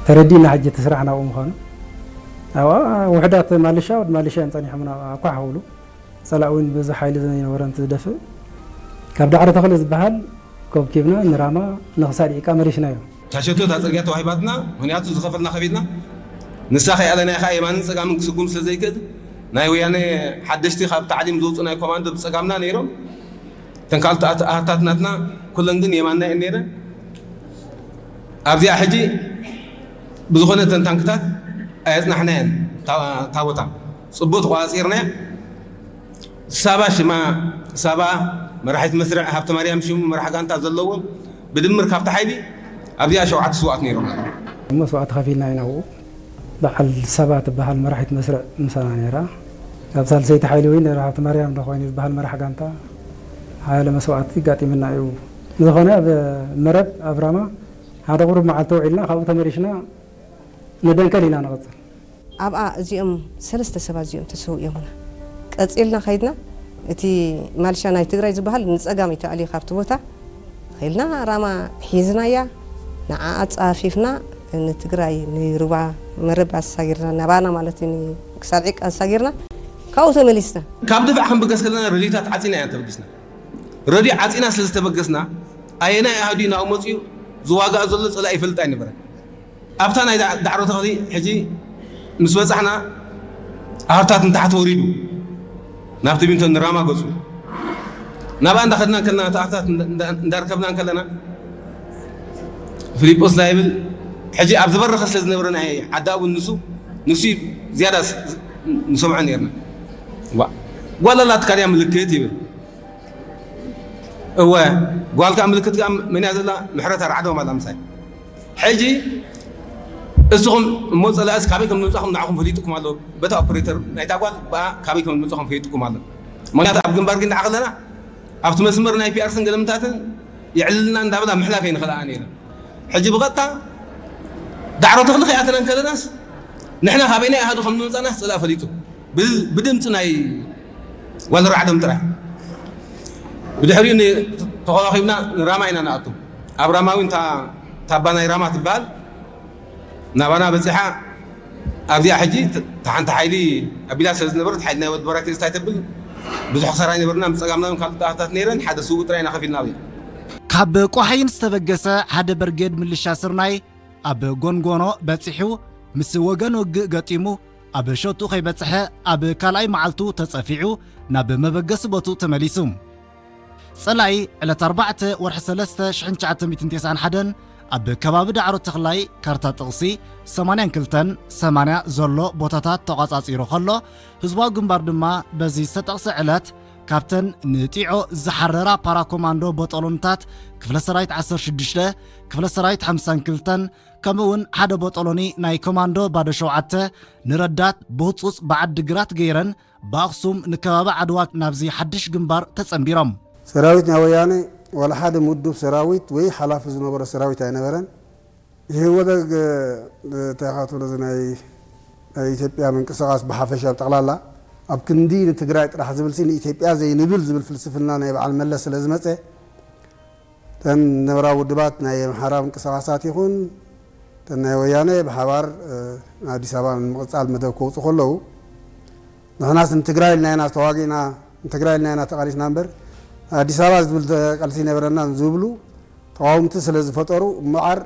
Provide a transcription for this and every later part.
ተረዲእና ሕጂ እቲ ስራሕ ናብኡ ምዃኑ። ኣብኣ ውሕዳት ማልሻ ወዲ ማልሻ እዮም ጸኒሖምና ኣኳሕ ክብሉ። ጸላእ እውን በዚ ሓይሊ ዘይነበረ እንትዝደፍእ ካብ ዳዕሮ ተኽሊ ዝበሃል ኮብኪብና ንራማ ንኽሳድ ደቂቃ መሊሽናዮ። ታሸቶ እታ ጽርግያ ተዋሂባትና፣ ምኽንያቱ ዝኸፈልና ከፊልና፣ ንሳ ከይኣለና ኢኻ የማንን ጸጋምን ክስጉም ስለ ዘይክእል፣ ናይ ወያነ ሓደሽቲ ካብ ታዕሊም ዝወፁ ናይ ኮማንዶ ብጸጋምና ነይሮም። እተን ካልኦት ኣት-፣ ኣሃታት ናትና ኩለን ግን የማንና እየን ነይረን። ኣብዚኣ ሕጂ ብዝኾነ እተን ታንክታት ኣየጽናሕናየን። እታ፣ እታ ቦታ ጽቡቕ ተቆጻጺርናያ። ሳባ ሽማ፣ ሳባ መራሒት መስርዕ፣ ሃብተ ማርያም ሽሙ መራሕ ጋንታ ዘለዎም ብድምር ካብቲ ሓይሊ ኣብዚኣ ሸውዓተ ስውኣት ነይሮም። እሞ መስዋእቲ ከፊልና ኢና ኣብኡ። በዓል ሳባ ትበሃል መራሒት መስርዕ ምሳና ነይራ። ኣብ ሳልሰይቲ ሓይሊ እውን ነይራ ሃብተ ማርያም ዶ ኮይኑ ዝበሃል መራሕ ጋንታ ሓያለ መስዋእቲ ጋጢምና እዩ። ዝኾነ ኣብ መረብ ኣብ ራማ ሓደ ቁሩብ መዓልቲ ውዒልና ካብኡ ተመሊሽና ንደንከል ኢና ንቐጽል። ኣብኣ እዚኦም ሰለስተ ሰባት እዚኦም ተሰዊኦምና። ቀጺልና ከይድና፣ እቲ ማልሻ ናይ ትግራይ ዝበሃል ንጸጋም እዩ ተኣልዩ ካብቲ ቦታ። ከይድና ራማ ሒዝናያ፣ ንዓኣ ጸሃፊፍና ንትግራይ ንሩባ መረብ ኣሳጊርና፣ ናባና ማለት እዩ፣ ንክሳድ ዒቃ ኣሳጊርና፣ ካብኡ ተመሊስና። ካብ ድፋዕ ክንብገስ ከለና ረድዮታት ዓጺና ኢና ተበጊስና። ረድዮ ዓጺና ስለ ዝተበገስና፣ ኣየናይ ኣሃዱ እዩ ናብኡ መጺኡ ዝዋጋእ ዘሎ ጸላኢ ይፈልጥ ኣይነበረን። ኣብታ ናይ ዳ-፣ ዳዕሮ ተኽሊ ሕጂ ምስ በጻሕና፣ ኣሃዱታት ንታሕቲ ወሪዱ፣ ናብቲ ቢንቶ ንራማ ገጹ። ናብኣ እንዳኸድና እንከለና፣ እቲ ኣሃዱታት እንዳ-፣ እንዳ-፣ እንዳርከብና እንከለና፣ ፊሊጶስ እንታይ ይብል? ሕጂ ኣብ ዝበረኸ ስለ ዝነበረ ናይ ዓዲ ኣቡን ንሱ፣ ንሱ እዩ ዝያዳ ስ-፣ ስ-፣ ንሰምዖ ነይርና። ዋ-፣ ጓል ኣላትካ ድያ ምልክት ይብል። እወ፣ ጓል ከኣ ምልክት ከኣ መን እያ ዘላ? ምሕረት ኣርዓዶም ኣላ ምሳይ። ሕጂ እስኹም እሞ ጸላእስ ካበይ ከም ዝመጻኹም ንዓኹም ፈሊጥኩም ኣሎ። በታ ኦፕሬተር ናይታ ጓል ብኣ ካበይ ከም ዝመጻኹም ፈሊጥኩም ኣሎ። ምኽንያቱ ኣብ ግንባር ግን ንዓ ከለና ኣብቲ መስመር ናይ ፒኣርስን ገለምታትን የዕልልና እንዳበላ ምሕላፍ ኣይንኽእላ ነይረን። ሕጂ ብቐጥታ ዳዕሮ ተኽሊ ከይኣተና እንከለናስ ንሕና ካበይናይ ኣሃዱ ከም ዝመጻናስ ጸላእ ፈሊጡ። ብ-፣ ብድምፂ ናይ ጓል ራዕዶም ጥራይ። ብድሕሪኡ ን-፣ ተኸዋኺብና ንራማ ኢና ንኣቱ። ኣብ ራማ እውን እታ ታባ ናይ ራማ ትበሃል ናባና በፂሓ። ኣብዚኣ ሕጂ ት-፣ እታ ሓንቲ ሓይሊ ኣቢላ ስለ ዝነበረት፣ ሓይሊ ናይ ወዲ በራኪ እንታይ ተብል፣ ብዙሕ ክሳራ ኣይነበርና። ብፀጋምና እውን ካልኦት ኣሃታት ነይረን፣ ሓደ ስውእ ጥራይ ኢና ከፊልና ኣብዚኣ። ካብ ቆሓይን ዝተበገሰ ሓደ በርጌድ ምልሻ ስርናይ ኣብ ጎንጎኖ በጺሑ ምስ ወገን ውግእ ገጢሙ ኣብ ሸቱ ከይበጽሐ ኣብ ካልኣይ መዓልቱ ተጸፊዑ ናብ መበገሲ ቦትኡ ተመሊሱ። ጸላኢ ዕለት ኣርባዕተ ወርሒ ሰለስተ ሽሕን ትሽዓተ ሚእትን ተስዓን ሓደን ኣብ ከባቢ ዳዕሮ ተኽላይ ካርታ ጥቕሲ ሰማንያን ክልተን ሰማንያ ዘሎ ቦታታት ተቋጻጺሩ ከሎ፣ ህዝባዊ ግንባር ድማ በዚ ዝተጠቕሰ ዕለት ካብተን ንጢዖ ዝሓረራ ፓራኮማንዶ ቦጦሎንታት ክፍለ ሰራዊት ዓሰርተ ሽዱሽተ፣ ክፍለ ሰራዊት ሓምሳን ክልተን፣ ከምኡ እውን ሓደ ቦጦሎኒ ናይ ኮማንዶ ባዶ ሸውዓተ ንረዳት ብህጹጽ ብዓዲ ግራት ገይረን ብኣኽሱም ንከባቢ ዓድዋ ናብዚ ሓድሽ ግንባር ተጸንቢሮም። ሰራዊት ናይ ወያነ ዋላ ሓደ ምዱብ ሰራዊት ወይ ሓላፊ ዝነበሮ ሰራዊት ኣይነበረን። ኢህወደግ፣ እንታይ ኢኻ ትብሎ፣ እዚ ናይ፣ ናይ ኢትዮጵያ ምንቅስቓስ ብሓፈሻ ብጠቕላላ ኣብ ክንዲ ንትግራይ ጥራሕ ዝብል ሲ ንኢትዮጵያ ዘይንብል ዝብል ፍልስፍና ናይ በዓል መለስ ስለ ዝመጸ፣ እተን ዝነበራ ውድባት ናይ ኣምሓራ ምንቅስቓሳት ይኹን እተን ናይ ወያነ ብሓባር፣ እ፣ ንኣዲስ ኣበባ ንምቕጻል መደብ ከውጹ ከለዉ፣ ንሕናስ ንትግራይ ኢልና ኢና ተዋጊእና፣ ንትግራይ ኢልና ኢና ተቓሊስና እምበር፣ ኣዲስ ኣበባ ዝብል ተ-፣ ቃልሲ ኣይነበረናን ዝብሉ ተቓወምቲ ስለ ዝፈጠሩ እምበኣር፣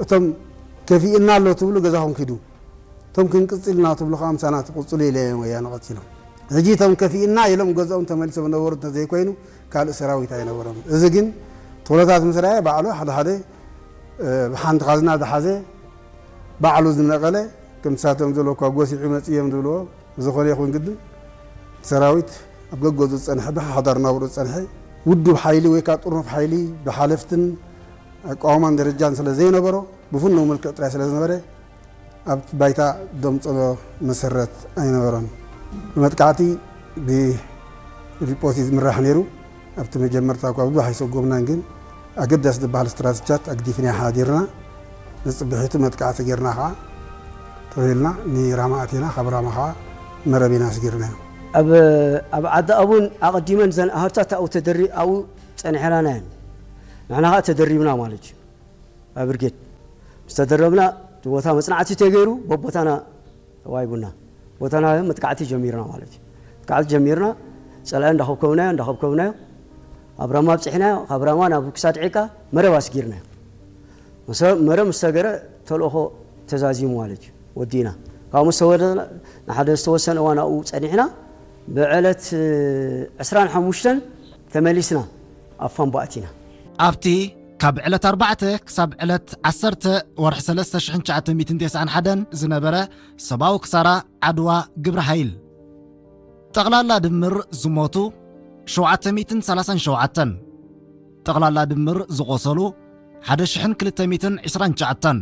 እቶም ከፊእና ኣሎ ትብሉ ገዛኹም ኪዱ፣ እቶም ክንቅጽል ኢና ትብሉ ከኣ ምሳና ትቕጽሉ ኢለ እዮም ወያነ ቀጺሎም። ሕጂ እቶም ከፊእና ኢሎም ገዝኦም ተመሊሶም ነበሩ እንተዘይኮይኑ፣ ካልእ ሰራዊት ኣይነበሮም። እዚ ግን እቲ ኩነታት ምስ ረኣየ ባዕሉ ሓደ ሓደ፣ እ፣ ብሓንቲ ካዝና ዝሓዘ ባዕሉ ዝነቐለ፣ ከም ንሳቶም ዝበልዎ እኳ ጎሲዑ መጺኡ እዮም ዝብልዎ። ብዝኾነ ይኹን ግድን፣ ሰራዊት ኣብ ገገዙ ዝጸንሐ፣ ብሓዳር ናብርኡ ዝጸንሐ ውዱብ ሓይሊ ወይ ከኣ ጥርኑፍ ሓይሊ ብሓለፍትን ኣቃውማን ደረጃን ስለ ዘይነበሮ፣ ብፍኑው መልክዕ ጥራይ ስለ ዝነበረ፣ ኣብቲ ባይታ ደምጽሎ መሰረት ኣይነበሮን። መጥቃዕቲ ብፊሊጶስ እዩ ዝምራሕ ነይሩ። ኣብቲ መጀመርታ እኳ ብዙሕ ኣይሰጎምናን፣ ግን ኣገዳሲ ዝበሃል ስትራተጂታት ኣግዲፍና ሓዲርና፣ ንጽብሒቱ መጥቃዕቲ ጌርና ኸዓ ተበልና ንራማ ኣቲና፣ ካብ ራማ ኸዓ መረብ ኢና ኣስጊርናዮ። ኣብ፣ ኣብ ዓዲ ኣቡን ኣቐዲመን ዘን ኣህርታት ኣብኡ ተደሪ-፣ ኣብኡ ጸኒሐናና እየን። ንሕና ኸዓ ተደሪብና ማለት እዩ። ኣብ ብርጌድ ዝተደረብና፣ እቲ ቦታ መጽናዕቲ ተገይሩ፣ በቦታና ተዋሂቡና። ቦታና መጥቃዕቲ ጀሚርና ማለት እዩ። መጥቃዕቲ ጀሚርና፣ ጸላኢ እንዳኸብከብናዮ፣ እንዳኸብከብናዮ፣ ኣብ ራማ ኣብጺሕናዮ፣ ካብ ራማ ናብ ክሳድ ዒቃ መረብ ኣስጊርናዮ። መሰ-፣ መረብ ምስ ሰገረ ተልእኾ ተዛዚሙ ማለት እዩ። ወዲእና። ካብኡ ምስ ተወደ፣ ንሓደ ዝተወሰነ እዋን ኣብኡ ጸኒሕና፣ ብዕለት ዕስራን ሓሙሽተን ተመሊስና ኣብ ፋምባ ኣቲና። ኣብቲ ካብ ዕለት ኣርባዕተ ክሳብ ዕለት ዓሰርተ ወርሒ ሰለስተ ሽሕን ትሽዓተ ሚእትን ተስዓን ሓደን ዝነበረ ሰብኣዊ ክሳራ ዓድዋ ግብረ ሓይል። ጠቕላላ ድምር ዝሞቱ ሸውዓተ ሚእትን ሰላሳን ሸውዓተን። ጠቕላላ ድምር ዝቖሰሉ ሓደ ሽሕን ክልተ ሚእትን ዕስራን ትሽዓተን።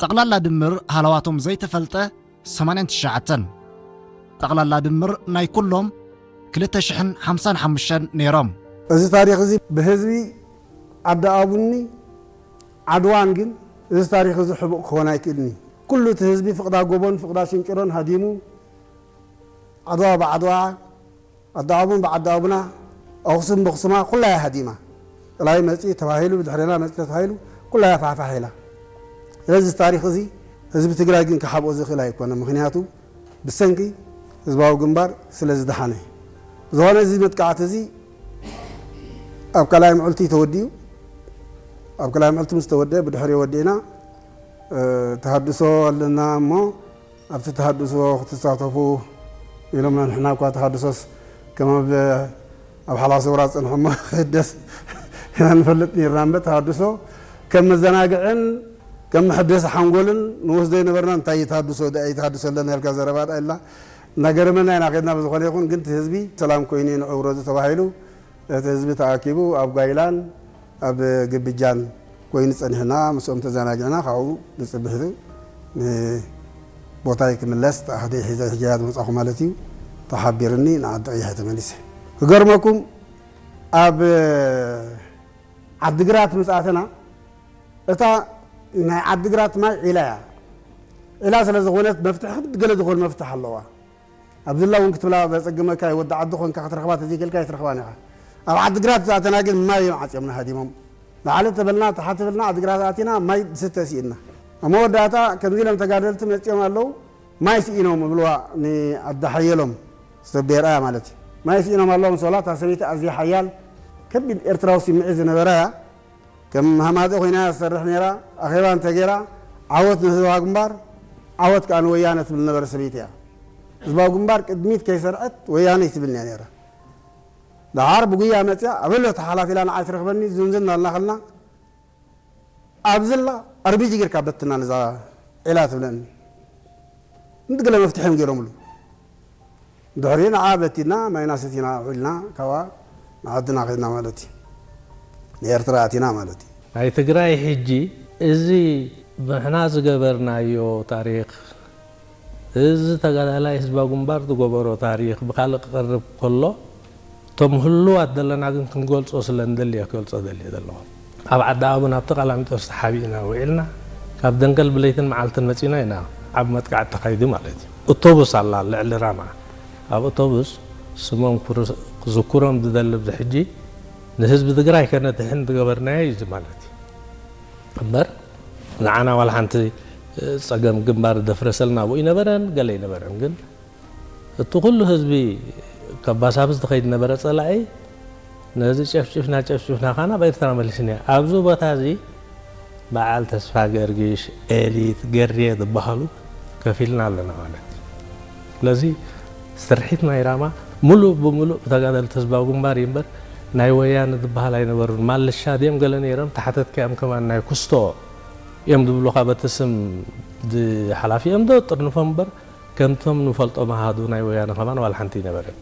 ጠቕላላ ድምር ሃለዋቶም ዘይተፈልጠ ሰማንያን ትሽዓተን። ጠቕላላ ድምር ናይ ኩሎም ክልተ ሽሕን ሓምሳን ሓሙሽተን ነይሮም። እዚ ታሪኽ እዚ ብህዝቢ ዓዲ ኣቡኒ ዓድዋን ግን እዚ ታሪኽ እዚ ሕቡእ ክኾን ኣይክእልን እዩ። ኩሉ እቲ ህዝቢ ፍቕዳ ጎቦን ፍቕዳ ሽንጭሮን ሃዲሙ ዓድዋ ብዓድዋ፣ ኣዲ ኣቡን ብዓዲ ኣቡና፣ ኣኽሱም ብኽሱማ ኩላ እያ ሃዲማ። ጥላይ መጺ ተባሂሉ፣ ብድሕሬና መጺ ተባሂሉ፣ ኩላ እያ ፋሕፋሕ ኢላ። ስለዚ እዚ ታሪኽ እዚ ህዝቢ ትግራይ ግን ክሓብኦ ዝኽእል ኣይኮነ። ምኽንያቱ ብሰንኪ ህዝባዊ ግንባር ስለ ዝደሓነ። ብዝኾነ እዚ መጥቃዕቲ እዚ ኣብ ካልኣይ ምዕልቲ ተወዲኡ። ኣብ ካልኣይ ምዕልቲ ምስ ተወደአ ብድሕሪኡ ወዲእና፣ እ፣ ተሃድሶ ኣለና እሞ ኣብቲ ተሃድሶ ክትሳተፉ ኢሎምና። ንሕና እኳ ተሃድሶስ ከም ኣብ፣ ኣብ ሓላሰ ውራ ዝጸንሐ እሞ ክህደስ ኢና ንፈልጥ ነርና እምበር ተሃድሶ ከም መዘናግዕን ከም መሐደሲ ሓንጎልን ንወስዶ ይነበርና። እንታይ እዩ ተሃድሶ? ደኣ እዩ ተሃድሶ ኣለና ኢልካ ዘረባ ደኣ ኢልና። እናገረመና ኢና ከድና። ብዝኾነ ይኹን ግን እቲ ህዝቢ ሰላም ኮይኑ ንዕውሮ ተባሂሉ እቲ ህዝቢ ተኣኪቡ ኣብ ጓይላን ኣብ ግብጃን ኮይኑ ጸኒሕና፣ ምስኦም ተዘናጊዕና፣ ካብኡ ንጽብሕቲ ንቦታይ ክምለስ ተኣህደ ሒዘ ሕጂ እያ ዝመጻኹ ማለት እዩ። ተሓቢርኒ ንዓዲ ቀይሐ ተመሊሰ። ክገርመኩም ኣብ ዓድግራት ምስ ኣተና እታ ናይ ዓድግራት ማይ ዒላ እያ። ዒላ ስለ ዝኾነት መፍትሒ ክዲ ገለ ዝኾነ መፍትሒ ኣለዋ። ኣብ ዝላ እውን ክትብላ ዘጸግመካ እዩ። ወዲ ዓዲ ኾንካ ክትረኽባ ተዘይክልካ ኣይትረኽባን ኢኻ። ኣብ ዓድግራት ዝኣተና ግን ማይ እዮም ዓጽዮምና ሃዲሞም። ላዕሊ ተበልና፣ ታሕቲ ተበልና፣ ዓድግራት ኣቲና ማይ ዝስተ ስኢንና። ኣብ መወዳእታ ከምዚ ኢሎም ተጋደልቲ መጺኦም ኣለዉ፣ ማይ ስኢኖም እብልዋ ንኣዲ ሓየሎም ዝተቤርኣያ ማለት እዩ። ማይ ስኢኖም ኣለዉ ምስ በላ፣ እታ ሰበይቲ ኣዝያ ሓያል ከቢድ ኤርትራዊ ስምዒት ዝነበራ እያ። ከም ሃማዘ ኮይና እያ ትሰርሕ ነይራ። ኣኼባ እንተገይራ፣ ዓወት ንህዝባዊ ግንባር፣ ዓወት ከኣ ንወያነ ትብል ነበረ ሰበይቲ እያ። ህዝባዊ ግንባር ቅድሚት ከይሰርዐት ወያነ ትብል እያ ነይራ። ደሓር ብጉያ መጽያ፣ ኣበሎ ተሓላፊ ኢላ ንዓይ ትረኽበኒ፣ ዝንዝን ኣልና ከልና፣ ኣብዝላ ኣርቢጂ ጌርካ በትና ነዛ ዒላ ትብለኒ። እንዲ ገለ መፍትሒ እዮም ገይሮምሉ። ድሕሪ ንዓ በቲና፣ ማይና ሰቲና ውዒልና፣ ካብኣ ንዓድና ከድና ማለት እዩ። ንኤርትራ ኣቲና ማለት እዩ። ናይ ትግራይ ሕጂ እዚ ንሕና ዝገበርናዮ ታሪኽ፣ እዚ ተጋዳላይ ህዝባዊ ግንባር ዝገበሮ ታሪኽ ብኻልእ ክቐርብ ከሎ፣ እቶም ህሉዋት ዘለና ግን ክንገልጾ ስለ እንደልየ ክገልጾ ደልየ ዘለኹ። ኣብ ዓዲ ኣቡን ኣብቲ ቀላሚጦስ ተሓቢእና ውዒልና፣ ካብ ደንገል ብለይትን መዓልትን መጺና ኢና ዓቢ መጥቃዕቲ ተኻይዱ ማለት እዩ። ኣውቶቡስ ኣላ ልዕሊ ራማ። ኣብ ኣውቶቡስ ስሞም ክር-፣ ክዝክሮም ዝደሊ ኣብዚ ሕጂ ንህዝቢ ትግራይ ከነድሕን ዝገበርናዮ እዩ እዚ ማለት እዩ። እምበር ንዓና ዋላ ሓንቲ ጸገም ግንባር ደፍረሰልና ኣብኡ ይነበረን ገለ ይነበረን። ግን እቲ ኩሉ ህዝቢ ከባሳብስ ዝኸይድ ነበረ ጸላኢ ነዚ ጨፍጭፍና ጨፍጭፍና ኻና ኣብ ኤርትራ መሊስና። ኣብዚ ቦታ እዚ በዓል ተስፋ ገርጊሽ፣ ኤሊት፣ ገሬ ዝበሃሉ ከፊልና ኣለና ማለት እዩ። ስለዚ ስርሒት ናይ ራማ ሙሉእ ብሙሉእ ብተጋደልቲ ህዝባዊ ግንባር እዩ እምበር ናይ ወያነ ዝበሃል ኣይነበሩን። ማልሻ ድዮም ገለ ነይሮም፣ ተሓተትካዮም ከማን ናይ ኩስቶ እዮም ዝብሉኻ በቲ ስም ሓላፊኦም ዶ ጥርንፎም እምበር ከምቶም ንፈልጦም ኣሃዱ ናይ ወያነ ከማን ዋላ ሓንቲ ኣይነበረን።